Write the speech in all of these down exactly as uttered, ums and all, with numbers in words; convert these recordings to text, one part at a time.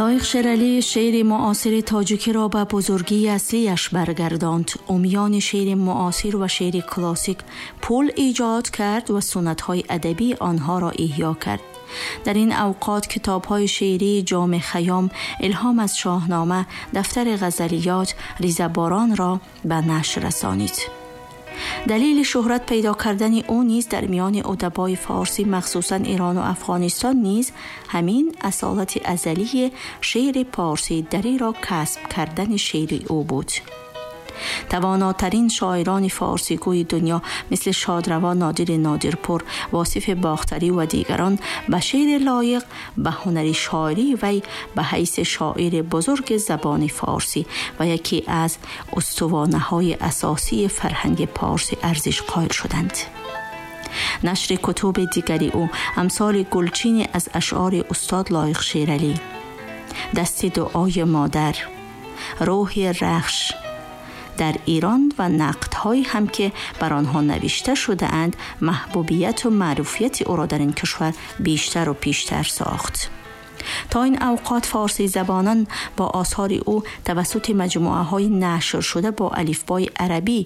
Лоиқ Шералӣ шеъри муосири тоҷикиро ба бузургии аслияш баргардонд. Ӯ миёни шеъри муосир ва шеъри классик пул эҷод кард ва суннатҳои адабии онҳоро эҳё кард. Дар ин авқот китобҳои шеърии Ҷоми Хайём, Илҳом аз Шоҳнома, Дафтари ғазалиёт, Ризаборонро ба нашр расонид. Далели шӯҳрат пайдо кардани ӯ низ дар миёни адабои форсӣ, махсусан Эрон ва Афғонистон низ ҳамин асолати азалии шеъри порсии дариро касб кардани шеъри ӯ буд. Тавонотарин шоирони форсигӯи дунё мисли шодравон Нодири Нодирпур, Восифи Бохтарӣ ва дигарон ба шеъри Лоиқ, ба ҳунари шоирии вай ба ҳайси шоири бузурги забони форсӣ ва яке аз устувонаҳои асосии фарҳанги порсӣ арзиш қоил шуданд. Нашри кутуби дигари ӯ амсоли гулчине аз ашъори устод Лоиқ Шералӣ, Дасти дуои модар, Рӯҳи Рахш дар Эрон ва нақдҳое ҳам ки бар онҳо навишта шудаанд, маҳбубияту маъруфияти ӯро дар ин кишвар бештару пештар сохт. То ин авқот форсизабонон бо осори ӯ тавассути маҷмӯаҳои нашршуда бо алифбои арабӣ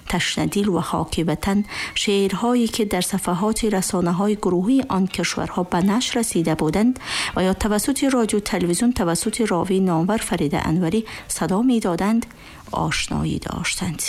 Ташнадил ва Хоки ватан, шеърҳое ки дар сафҳаҳоти расонаҳои гурӯҳии он кишварҳо ба нашр расида буданд ва ё тавассути радио телевизион тавассути ровии номвар Фарида Анварӣ садо медоданд, ошноӣ доштанд.